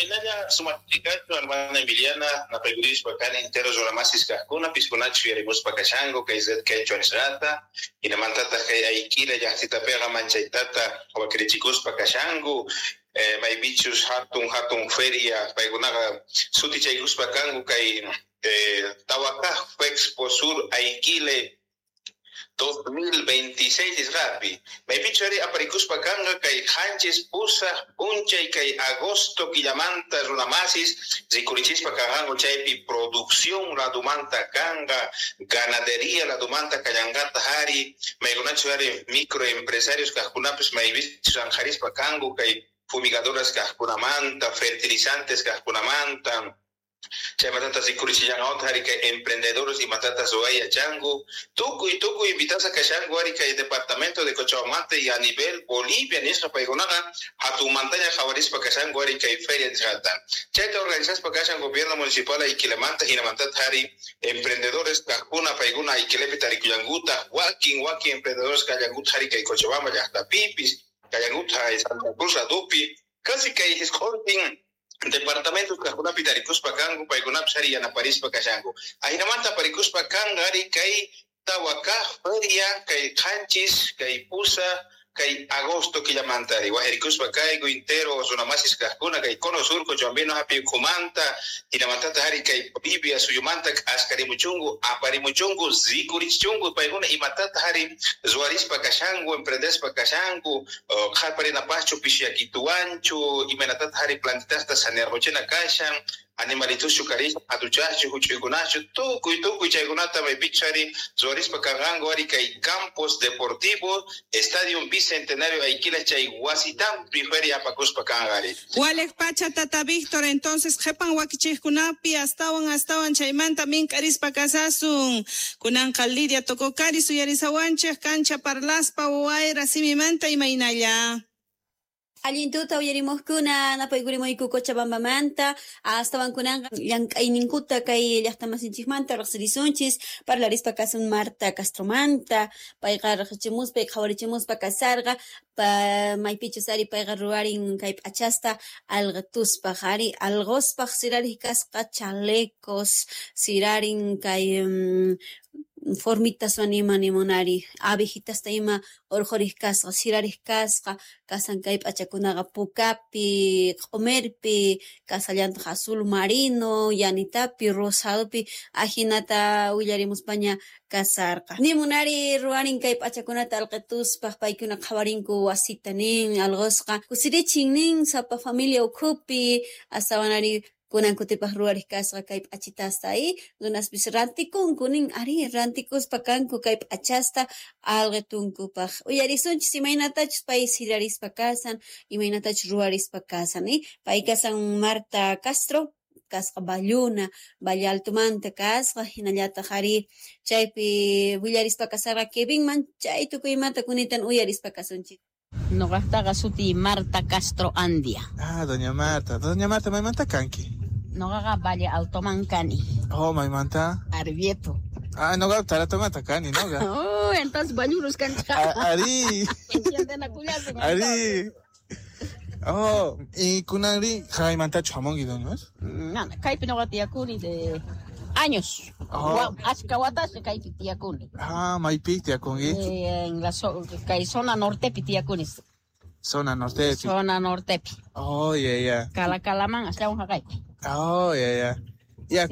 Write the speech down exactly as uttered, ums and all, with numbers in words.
Chaynalla sumachikachun hermana Emiliana napaykurispa kani entero runamasis kaqkuna piskunachu yarimuspa kashanku kay Red Quechua nisqata hinamantataq kay Ayquile llaqtitapiqa manchaytata wakirichikuspa kashanku eh, maypichus hatun hatun feria paykunaqa sutichaykuspa kanku kay eh, Tawakaj Expo Sur Aiquile dos mil veintiséis nisqapi maypichu ari aparikuspa kanqa kay qanchis pusaq p'unchay kay agosto killamanta runamasis rikurichispa kanqanku chaypi producción ladumanta kanqa ganadería ladumanta kallanqataq ari maykunachu ari microempresarios kaqkunapis maypichus anqarispa kanku kay fumigadoras kaqkunamanta fertilizantes kaqkunamanta chaymatata rikurichishanqawta ari kay emprendedores imatata ruway yachanku tukuy tukuy invitasqa kashanku ari kay departamento de Cochabamba y a nivel Bolivia nisqa paykunaqa hatunmantaña qhawarispa kashanku ari kay feria nisqata chayta organizaspa kashan gobierno municipal Ayquilemanta hinamantata ari emprendedores kaqkuna paykuna Ayquilepi tarikullankutaq wakin wakin emprendedores kallankuta ari kay Cochabamba llaqtapipis kallankuta Santa Cruz ladupi casi kay hisq'untin departamentos kaqkunapi tarikuspa kanku paykunapis ari yanaparispa kashanku ahinamanta aparikuspa kanqa ari kay tawakaj feria kay qanchis kay pusa kay agosto killamanta ari wajarikuspa kayku intero runamasis kaqkuna kay cono sur cochabambino hapi ukhumanta hinamantata ari kay Bolivia suyumanta askarimuchunku aparimuchunku rikurichichunku paykuna imatata ari ruwarispa kashanku emprendespa kashanku qhaparinapaqchu pishiyakituwanchu imaynatata ari plantitasta sanearquchina kashan animalituschu karispa hatuchaschu huch'uykunachu tukuy tukuy chaykunata maypichus ari ruwarispa kanqanku ari kay campos deportivos Estadio Bicentenario Ayquila chay wasitampi feria apakuspa kanqa ari. Walej pacha tata Víctor, entonces qhipan wakichiqkunapi astawan astawan chaymanta mink'arispa kasasun. Kunanqa Lidia Tococari suyarisawanchik kancha parlaspa wayra simimanta imaynalla. Allintuta uyarimuqkuna napaykurimuyku Cochabambamanta astawan kunanqa llank'ayninkuta kay llaqtamasinchikmanta riqsirisunchis parlarispa kasun Marta Castromanta payqa riqsichimuspa qhawarichimuspa kasarqa pa maypichus ari payqa ruwarin kay p'achasta alqituspaq ari alquspaq sirariq kasqa chalecos sirarin kay um, formitas ima nimunari abejitasta ima urqhuriq kasqa sirariq kasqa kasan kay p'achakunaqa pukapi q'umirpi kasallantaq azul marino yanitapi rosadopi ajinata willarimuspaña kasarqa nimunari ruwarin kay p'achakunata alqituspaq paykuna qhawarinku wasita nin alqusqa kusirichin nin sapa familia ukhupi astawanari kunan kutipaq ruwariq kasqa kay p'achitasta y runaspis rantikunku nin ari rantikuspa kanku kay p'achasta alqitunkupaq uyarisunchis imaynatachus pay sirarispa kasan imaynatachus ruwarispa kasan y pay kasan Marta Castro kasqa Balluna Valle Altomanta kasqa hinallataq ari chaypi willarispa kasarqa Kevinman chay tukuymanta kunitan uyarispa kasunchis. Noqaqtaqa suti Marta Castro Andia. Ah, doña Marta. Doña Marta, maymanta kanki? Noqaqa Valle Altoman kani. Oh, maymanta? Arbieto. Ah, noqa Taratomanta kani, noqa. Oh, entonces bañurus kanchika. Ari. Ari. Oh, y kunanri jaymantachu hamunki, doña Marta? No, kaypi noqa tiyakuni de años. Oh. Achka watasqa kaypi tiyakuni. Ah, maypi tiyakunki? Eh, en la so, kay zona nortepi tiyakuni. Zona nortepi. Zona nortepi. Oh, yeah, yeah. Calacalaman astawan haqaypi. Oh, yeah, yeah.